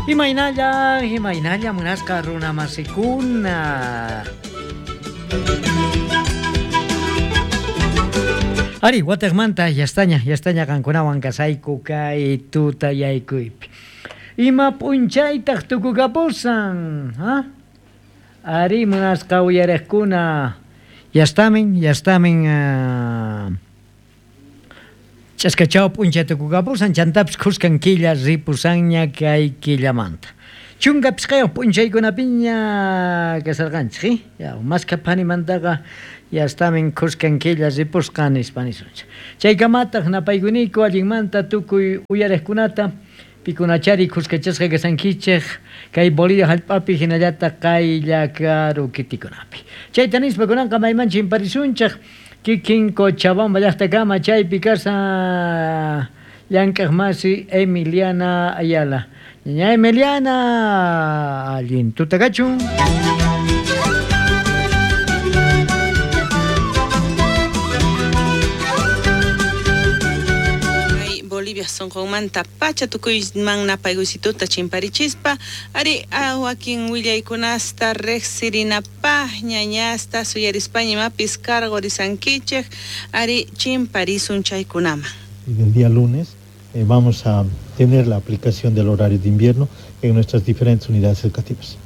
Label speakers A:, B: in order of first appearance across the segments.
A: Imaynalla, imaynalla munasqa runa masikuna. Ari, watejmanta yastaña, yastaña qankunawan kasayku kay tutayaykuypi. Ima p'unchaytaq tukukapusan, ha? Ari, munasqa uyariqkuna, yastamin, yastamin ch'askachaw p'unchay tukukapusan, chantapis khuskan killa ripusanña kay killamanta. Chunka pishqayuq p'unchaykunapiña kasarqanchik, eh? Ya, maskha phanimantaqa yastamin khuskan killa ripusqa nispa nisunchik. Chaykamataq napaykuniku allinmanta tukuy uyariqkunata, pikunachari khuskachasqa kasankichik kay Bolivia hallp'api hinallataq qaylla karu kitikunapi. Chayta nispa kunanqa mayman chimparisunchik kikin Cochabamba llaqtakama chaypi kashan llank'aq masi Emiliana Ayala. Ñaña Emiliana, allin tuta kachun.
B: Kay Bolivia sonqonmanta pacha tukuyman napaykuysituta chimparichispa, ari wakin willaykunasta riqsirinapaq ñañasta suyarispaña imapis cargorisankichik, ari chimparisun chaykunaman.
C: Y del día lunes vamos a tener la aplicación del horario de invierno en nuestras diferentes unidades educativas.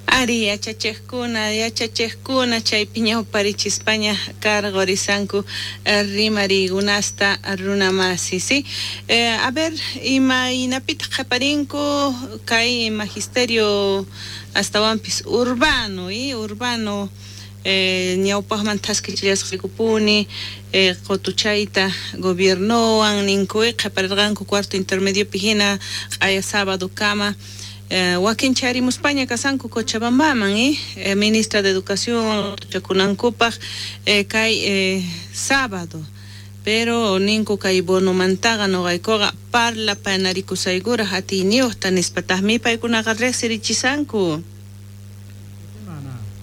B: Ari, yachachiqkuna, yachachiqkuna chaypi ñawparichispaña cargorisanku rimariykunasta runamasi, ¿sí? A ver, imaynapitaq qhaparinku kay magisterio astawanpis urbano, ¿eh? Urbano, ñawpaqman thaskichillasqaykupuni, qutuchayta gobiernowan ninku, qhaparirqanku cuarto intermediopi hina q'aya sábado kama. Wakin charimuspaña kasanku Cochabambaman, ministra de Educación qutuchakunankupaq, kay sábado. Pero ninku kay bonomantaqa noqaykuqa parlapanarikusaykuraq atiyniyuqta nispataqmi paykunaqa riqsirichisanku.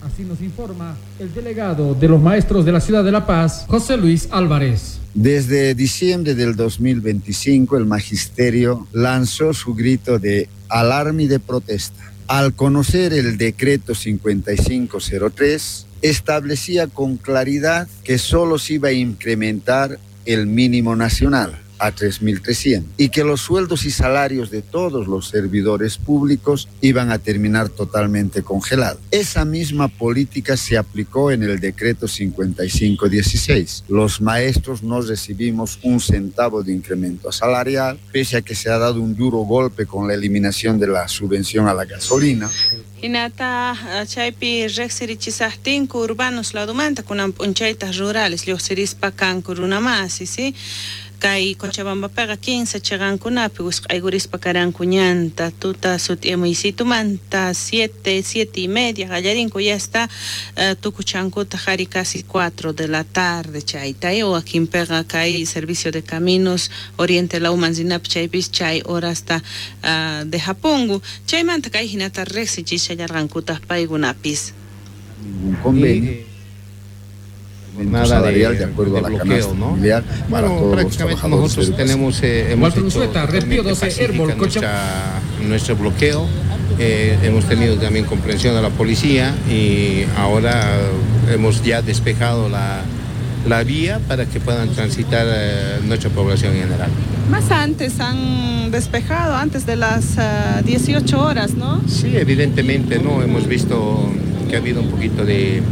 D: Así nos informa el delegado de los maestros de la ciudad de La Paz, José Luis Álvarez.
E: Desde diciembre del 2025, el magisterio lanzó su grito de alarma y de protesta. Al conocer el decreto 5503, establecía con claridad que solo se iba a incrementar el mínimo nacional a 3.300 y que los sueldos y salarios de todos los servidores públicos iban a terminar totalmente congelados. Esa misma política se aplicó en el decreto 5516. Los maestros no recibimos un centavo de incremento salarial, pese a que se ha dado un duro golpe con la eliminación de la subvención a la gasolina.
B: Hinata chaypi riqsirichisaqtinku urbanos ladumanta kunan p'unchaytaq rurales lluqsirispa kanku runamasi, ¿sí? Kay Cochabambapiqa 15 chiqankunapi wisq'aykurispa karanku ñanta tuta sut'imuysitumanta 7, siete y media qallarinku ya está, tukuchankutaq ari casi 4 de la tarde chayta, wakinpiqa kay servicio de caminos Oriente Lauman rinapi chaypis chay horasta de Japongu chaymanta kay hinata riqsichishallarqankutaq paykunapis.
E: Ningún convenio.
F: Nada
E: salarial de acuerdo
F: de
E: a la
F: bloqueo,
E: canasta
F: ¿no?
E: familiar para
F: Bueno,
E: todos los
F: prácticamente
E: trabajadores
F: nosotros
E: de educación.
F: hemos
D: Walter
F: hecho
D: Unzueta, Red Pío
F: totalmente
D: 12,
F: pacífica
D: Herbol, Cocha-
F: nuestro bloqueo. Hemos tenido también comprensión de la policía y ahora hemos ya despejado la vía para que puedan transitar nuestra población en general.
B: Más antes han despejado, antes de las 18 horas, ¿no?
F: Sí, evidentemente, ¿no? Hemos visto que ha habido un poquito de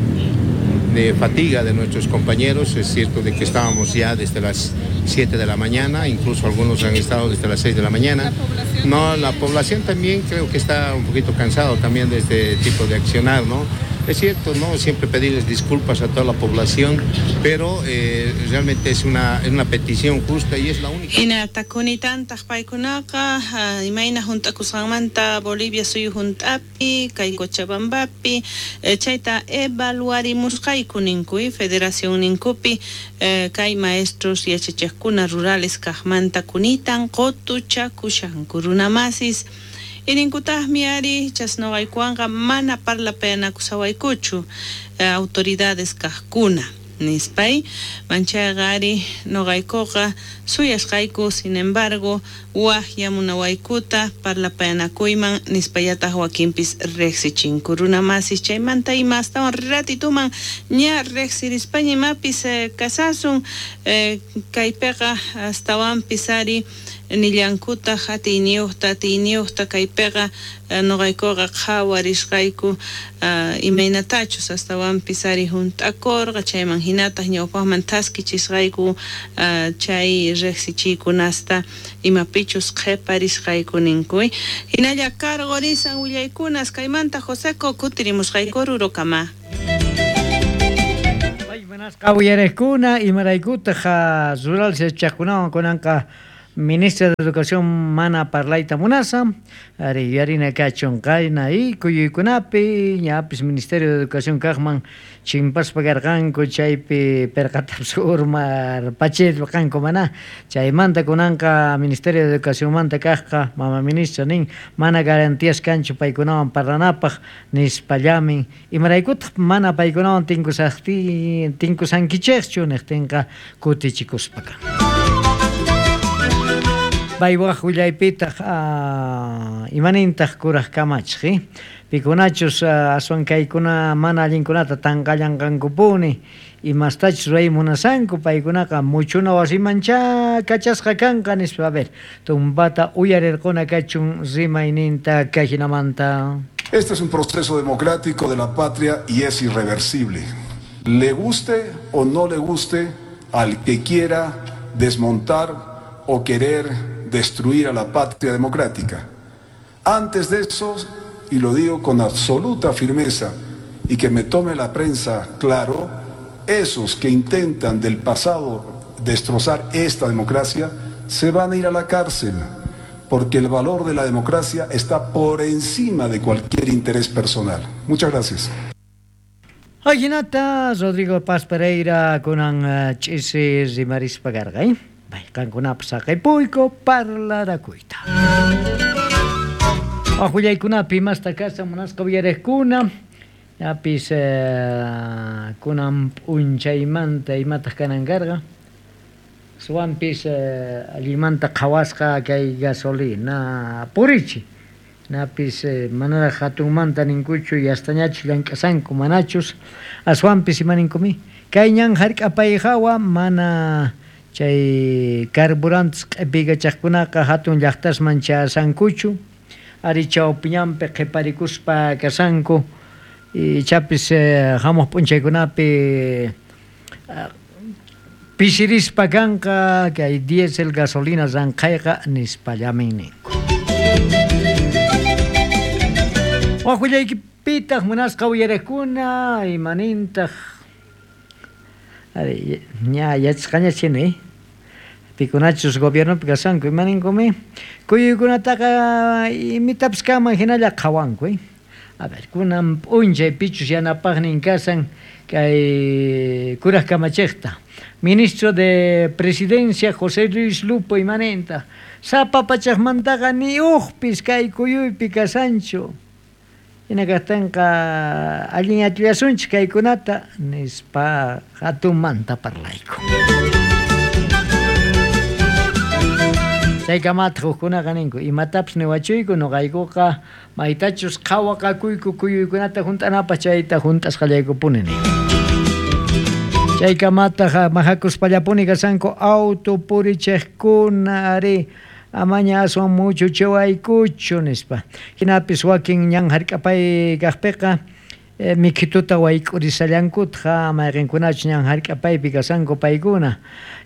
F: fatiga de nuestros compañeros. Es cierto de que estábamos ya desde las 7 de la mañana, incluso algunos han estado desde las 6 de la mañana.
B: ¿La población
F: No,
B: también?
F: la población también creo que está un poquito cansado también de este tipo de accionar, ¿no? Es cierto, ¿no? Siempre pedirles disculpas a toda la población, pero realmente es una petición justa y es la única.
B: Hina takunitantaq paykunaqa, imayna hunt'akusqanmanta Bolivia suyu hunt'api, kay Cochabambapi, chayta evaluarimusqayku ninku, federación ninkupi, kay maestros yachachiqkuna rurales kaqmanta kunitan qutuchakushanku runamasis. Irinkutaqmi ari chasnuqaykuwanqa mana parlapayanakusawaykuchu, autoridades kaqkuna. Nispay manchayqa ari noqaykuqa suyasqayku, sin embargo, waqyamunawaykuta parlapayanakuyman nispallataq wakinpis riqsichinku runamasis chaymanta ima astawan ratituman ña riqsirispaña imapis kasasun kaypiqa astawanpis ari nillankutaq atiyniyuqta kaypiqa noqaykuqa qhawarisqayku imaynatachus astawanpis ari hunt'akurqa chayman hinataq ñawpaqman thaskichisqayku chay riqsichiykunasta imapichus qhiparisqayku ninku. Hinalla karqurisan willaykunas kaymanta Joseco kutirimusqayku rurukama.
A: Manasqa uyariqkuna imaraykutaq rural yachaqkunawan kunanqa Ministra de Educación mana parlayta munasa, ari yuyarina kachun qayna y kuyuykunapi ñapis Ministerio de Educación kaqman chimpaspa karqanku chaypi perqatapis urmarpachirqanku mana chaymanta kunanqa Ministerio de Educacionmanta kaqqa mama ministra nin mana garantías kanchu paykunawan parlanapaq nispallamin imaraykutaq mana paykunawan tinkusankichikchu niqtinqa kutichikuspa kan. Paywaq willaypitaq imanintaq kuraq kamachiq pikunachus aswan kaykuna mana allinkunata tanqallanqankupuni imastachus ruray munasanku paykunaqa muchuna wasimancha kachasqa kanqa nispa. A ver, tumpata uyarirquna kachun rimayninta kayhinamanta.
G: Este es un proceso democrático de la patria y es irreversible. Le guste o no le guste al que quiera desmontar o querer destruir a la patria democrática. Antes de eso, y lo digo con absoluta firmeza, y que me tome la prensa claro, esos que intentan del pasado destrozar esta democracia, se van a ir a la cárcel, porque el valor de la democracia está por encima de cualquier interés personal. Muchas gracias.
A: Ajinata Rodrigo Paz Pereira kunan ch'isi rimarispa karqa, Qankunapas saqipuyku parlarakuyta. Waqwillaykunapi imasta kashan munasqa uyariqkuna ñapis kunan p'unchaymanta imataq kanan karqa suwanpis allinmanta qhawasqa kay gasolina purichi napis manaraq hatunmanta ninkuchu yastañachus llank'asanku manachus aswanpis imaninkumi kay ñan hark'apay hawa mana chay carburantes q'ipikachaqkunaqa hatun llaqtasman chasankuchu ari chawpiñanpi qhiparikuspa kasanku ichapis hamuq p'unchaykunapi pisirispa kanqa kay diésel gasolina ranqhayqa nispallamin ninku. Waqwillaykipitaq munasqa uyariqkuna imanintaq ari ña yachasqañachini pikunachus gobiernopi kasanku imaninkumi kuyuykunataqa imitapis kaman hinalla qhawanku. A ver, kunan p'unchay pichus yanapaqnin kasan kay kuraq kamachiqta Ministro de Presidencia José Luis Lupo imanenta sapa pachaqmantaqa ni uqpis kay kuyuypi kasanchu hina kaqtinqa allin atillasunchik kaykunata nispa hatunmanta parlayku. Chaykamataq hukkunaqa ninku imatapis niwachuyku nuqaykuqa maytachus qhawaqakuyku kuyuykunata hunt'anapaq chayta hunt'asqallaykupuni ninku. Chaykamataq mahakuspallapuni kasanku auto purichiqkuna ari amaña aswan muchuchiwaykuchu nispa. Hinapis wakin ñan hark'apay kaqpiqa mikhituta wayk'urisallankutaq mayqinkunachus ñan hark'apaypi kasanku paykuna.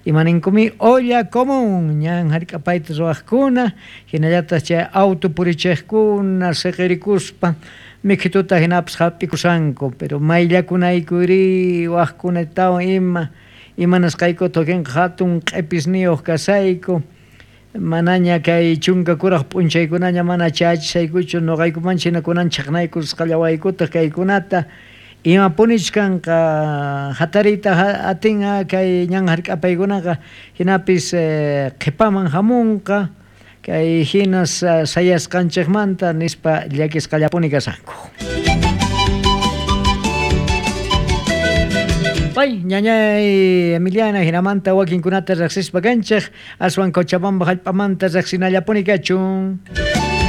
A: Imaninkumi olla común ñan hark'apayta ruwaqkuna hinallataq chay auto purichiqkuna siqirikuspa mikhituta hinapis hap'ikusanku pero mayllakunaykuri waqkunatawan ima imanasqaykuta wakinqa hatun q'ipisniyuq kasayku manaña kay chunka kuraq p'unchaykunaña mana chayachisaykuchu nuqaykumanchik hina kunan chaqnaykusqallawaykutaq kaykunata imapunich kanqa hatariyta atinqa kay ñan hark'apaykunaqa hinapis qhipaman hamunqa kay hinas sayasqanchikmanta nispa llakisqallapuni kasanku. Papay, ñañay Emiliana, jinamanta wakinkunata riqsispa kanchik, aswan Cochabamba hallp'amanta riqsinallapuni kachun.